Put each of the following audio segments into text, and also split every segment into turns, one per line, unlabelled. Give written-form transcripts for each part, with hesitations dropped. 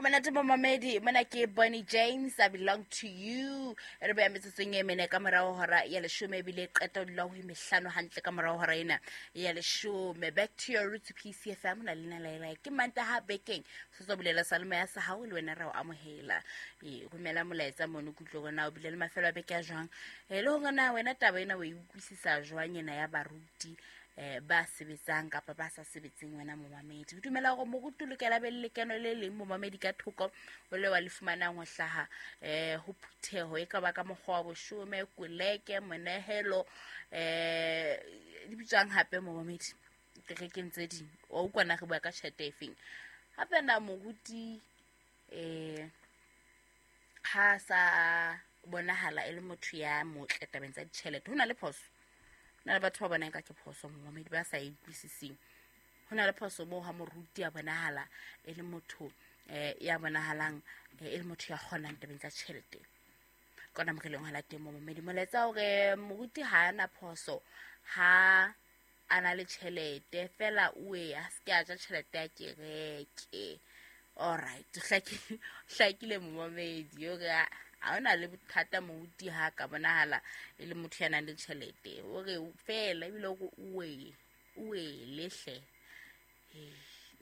Monate momamedi, mona ke Bonnie James, "I Belong to You". E re beya metsotsong e mene ka morago hora ya leshome, ebile qeta o dula ho e mehlano hantle ka morago hora ena ya leshome. Back to your roots, PCFM na lena laela ke Mantaha bekeng se tswa bulela salome ya sa hao le wena re o amohela. E romela molaetsa mono kutlwe gore na o bile le mafelo a beke a jwang, e le gore na wena taba ena o e utlwisisa jwang ena ya baruti ba sebetsang kapa ba sa sebetseng. Wena momamedi, o dumela gore moruti o lokela be le lekeno le leng, momamedi, ka thoko o le wa le fumanang ho hlaha ho phutheho, e ka ba ka mokgwa wa boshome, koleke, monehelo, di bitswang hape, momamedi, kerekeng tse ding? Wa utlwana re bua ka tjhelete e feng hape? Na moruti ha sa bonahala e le motho ya motle tabeng tsa ditjhelete, ho na le phoso? Ho na le batho ba bonang ka ke phoso, momamedi, ba sa e utlwisising. Ho na le phoso moo ha moruti a bonahala e le motho ya bonahalang e le motho ya kgonang tabeng tsa tjhelete? Kona mo re leng hona teng, momamedi. Molaetsa hore moruti ha a na phoso ha a na le tjhelete fela, oe a se ke a ja tjhelete ya kereke. Alright, hlakile, momamedi, ore ha o na le bothata moruti ha ka bonahala e le motho ya nang le tjhelete, ore fela ebile ore oe oele hle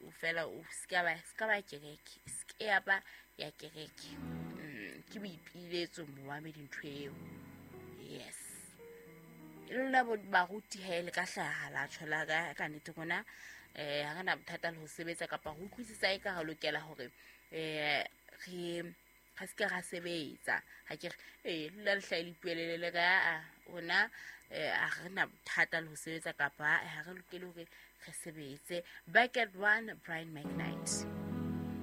o fela o ska ba kereke, se ke ya ba ya kereke. Ke boipiletso, momamedi, ntho eo. Yes, e lona baruti he le ka hlaha la tjho la ka nnete rona ha re na bothata le ho sebetsa, kapa ho utlwisisa e ka re lokela hore re ga se ke ra sebetsa. Ga ke re ee, lula le hlae le ipuelele le ka a rona a re na bothata le ho sebetsa, kapa ha re lokele hore re sebetse. Back at one, Brian McKnight.